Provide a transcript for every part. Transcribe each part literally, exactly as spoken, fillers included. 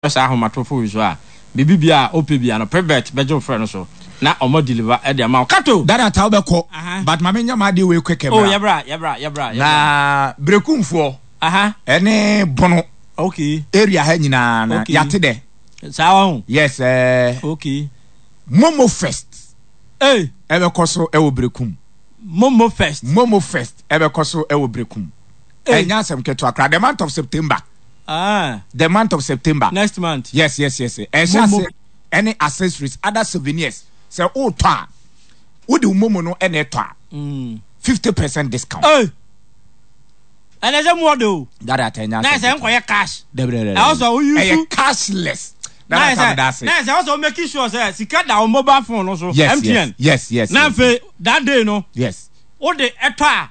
Saa ahomatorofo yi so a, biribi bia a wopɛ bia no, Private bɛgye wo frɛ no so na ɔmo deliver ɛde ama wo. Kato! Dada ta wobɛkɔ. Aha. But ma menyɛ m'adeɛ wei kɛkɛ. Oh, bra. Yɛbra, yɛbra, yɛbra, yɛbra. Na Berekumfoɔ Aha. ɛne Bono Okay. area ha nyinaa na Okay. yɛate dɛ. Saa wa ho. Yes, eh, Okay. Momo Fest Hey, ɛbɛkɔ so ɛwɔ Berekum. Momo Fest. Momo Fest ɛbɛkɔ so ɛwɔ Berekum. Hey. Ɛnyɛ asɛm ketewa koraa. The month of September. Ah, The month of September. Next month. Yes, yes, yes. Ɛhyɛ Momo. ase ɛne accessories, other souvenirs. Sɛ wotɔ a, wode wo Momo no ɛna ɛtɔ a, Mm. fifty percent discount. Hey. Ɛnɛ sɛ mu ɔde o. Dada ata, ɛnyɛ Na asɛm ɛsɛ ketewa. nkɔyɛ cash. Dabi, dabi, dabi. Ɛwɔ sɛ wo use- Ɛyɛ cashless. Na Dada ata, ɛsɛ meda ase. na ɛsɛ ɔsɛ o make sure sɛ sika da wo mobile phone no so. Yes, M T N. yes, yes, yes. Na yes. afei that day no, Yes. wode ɛtɔ a,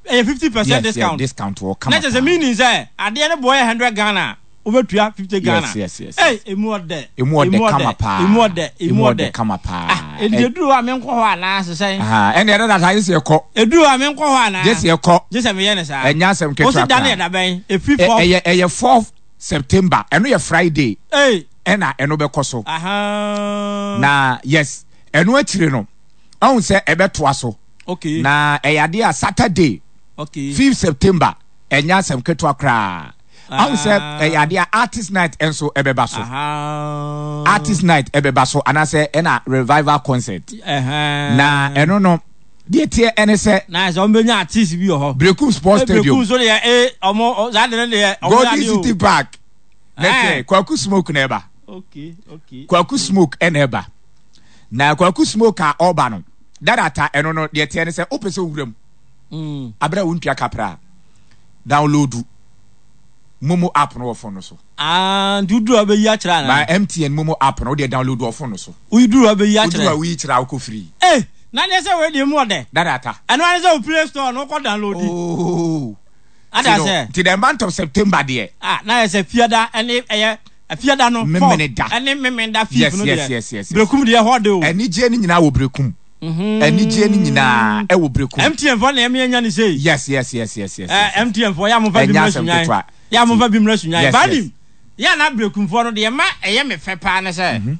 ɛyɛ fifty percent Yes, discount. Yes, discount wɔ kama. Na kyerɛ sɛ meaning sɛ adeɛ no boɔ yɛ hundred Ghana a, wobɛtua fifty Ghana. Yes, yes, yes, Hey, emu ɔdɛ. Emu ɔdɛ kama paa. Emu ɔdɛ, emu Emu ɔdɛ. ɔdɛ kama paa. Ah, enti eduru hɔ a menkɔ hɔ anaa sesɛn? Aha, ɛnna ɛdɛ dada ayɛ sɛ ɛkɔ. Eduru hɔ a menkɔ hɔ anaa? Gye sɛ ɛkɔ. Gye sɛ meyɛ ne saa. Ɛnyɛ asɛm ketewa Wosi da ne koraa. yɛ da bɛn? Efi Ɛ- fourth. Ɛyɛ ɛyɛ fourth September. Ɛno yɛ Friday. Hey, Ɛna ɛno bɛkɔ so. aha. Na yes, ɛno akyire no, ɔhun sɛ ɛbɛtoa so. Okay. Na ɛyɛ adeɛ a Saturday, Okay. fifth September, ɛnyɛ asɛm ketewa koraa. Ɔhun sɛ Ah. ɛyɛ adeɛ a Artist Night nso ɛbɛba so. Aha. Artist Night ɛbɛba so anaasɛ ɛna revival concert. Ɛhɛn. Na ɛno no, deɛ teɛ ɛne sɛ Na sɛ ɔmo bɛnya artist bi wɔ hɔ. Brekum Sports Brekum Stadium, so deɛ ee ɔmo ɔ- saa de ne deɛ ɔmo Golden yɛ adeɛ o. City Park. Ne Eh. sɛ Kwaku Smoke na ɛba. Okay, okay. Kwaku Smoke ɛna ɛba. Na Kwaku Smoke a ɔba no, dadata ɛno no, deɛ teɛ ne sɛ wopɛ sɛ owura mu Mm. abere a wontua kapra a, download Momo app no wɔ phone no so. Ah, nti woduru a wobɛyi akyerɛ Ma anaa? M T N Momo app no, wodeɛ download wɔ phone no so. Woduru a wobɛyi Woduru a, akyerɛ. woyi kyerɛ a, wokɔ free. Eh, na deɛ sɛ wei deɛ mu ɔdɛ. Dadata. Ɛno ane sɛ wo Play Store no wokɔ download. Oh. Ada Nti no, sɛ. nti the month of September deɛ, Ah, na yɛ sɛ Fiada ɛne ɛyɛ Fiada no Memene fourth da. ɛne Memenda fifth Yes, no yes, deɛ. yes, yes, yes. Brekum deɛ hɔ de o. Anigye no nyinaa wɔ Brekum. Mhm. Anigye no nyinaa ɛwɔ Brekum. M T N fɔ na ɛmi anya ne sei. Yes, yes, yes, yes, yes. Eh, yes. M T N fɔ yɛ a mofa bi Ɛnyɛ mmerɛ asɛm sunyan. ketewa. Yɛ a mofa bi mmerɛ sunyan. Yes, Banim. yes. Yɛ a na Brekumfoɔ no deɛ ma ɛyɛ me fɛ paa ne sɛ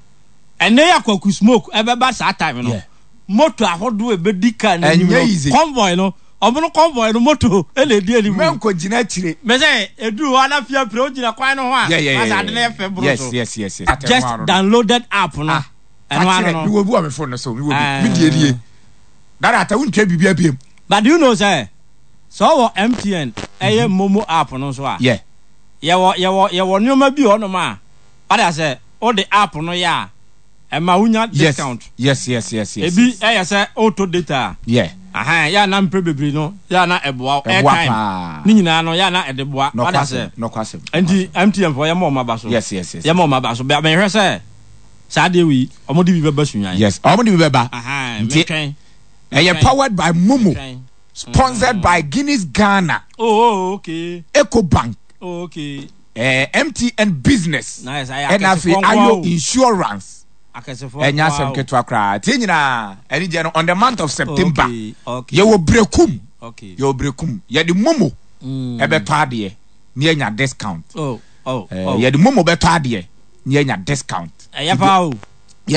ɛnɛ yɛ Akwaku Smoke ɛbɛba saa time no. Yeah. Moto ahodoɔ ebedi kaa n'anim Ɛnyɛ no. easy. Convoy no, ɔmo no convoy no moto ɛna edi anim. Mɛnkɔ gyina akyire. Mɛ sɛ eduru hɔ ana fia pere ogyina kwan no ho a. Yeah, yeah, yeah. Asa ade no yɛ fɛ boro Yes, so. yes, yes, yes. Just downloaded app no. Ah, Ɛno ano no. mewɔ bi wɔ me phone no so, mewɔ bi. Ah. Me die die. Dada ata, wontwa biribi abiem. But do you know sɛ sɛ ɔwɔ M T N ɛyɛ Momo app no nso a, Yeah. yɛwɔ yɛwɔ yɛwɔ nneɛma bi wɔ hɔnom a ɔda sɛ wode app no yɛ a, ɛma wonya Yes. discount. Yes, yes, yes, yes. Ebi ɛyɛ sɛ wotɔ data a, Yeah. ahan yɛ a na mpere bebree no yɛ a na ɛboa wo. Ɛboa Airtime paa. ne nyinaa no yɛ a na ɛde boa ɔda sɛ Nɔkwasɛm. Nɔkwasɛm. Nti M T N foɔ, yɛma ɔmo aba so. Yes, yes, yes. Yɛma ɔmo aba so. Bɛ mehwɛ sɛ saa adeɛ wei ɔmo de bi bɛba Sunyan. Yes. Ɔmo de bi bɛba. Ahan Nti metwɛn. ɛyɛ powered by Momo, Metwɛn. sponsored by Guinness Ghana, oh oh okay Ecobank, oh okay eh, M T N Business, Na yɛ sɛ ayɛ ɛna afei akɛsefoɔ nko Ayo ara o. Insurance. Akɛsefoɔ Ɛnyɛ nko asɛm ara o. ketewa koraa. Tie nyinaa, ɛne gye no on the month of September. Okay, okay. Yɛwɔ Brekum. Okay. Yɛwɔ Brekum. Yɛde Momo Mm. ɛbɛtɔ adeɛ na yɛnya discount. Oh, oh, Eh, oh. yɛde Momo bɛtɔ adeɛ na yɛnya discount. Ɛyɛ paa o.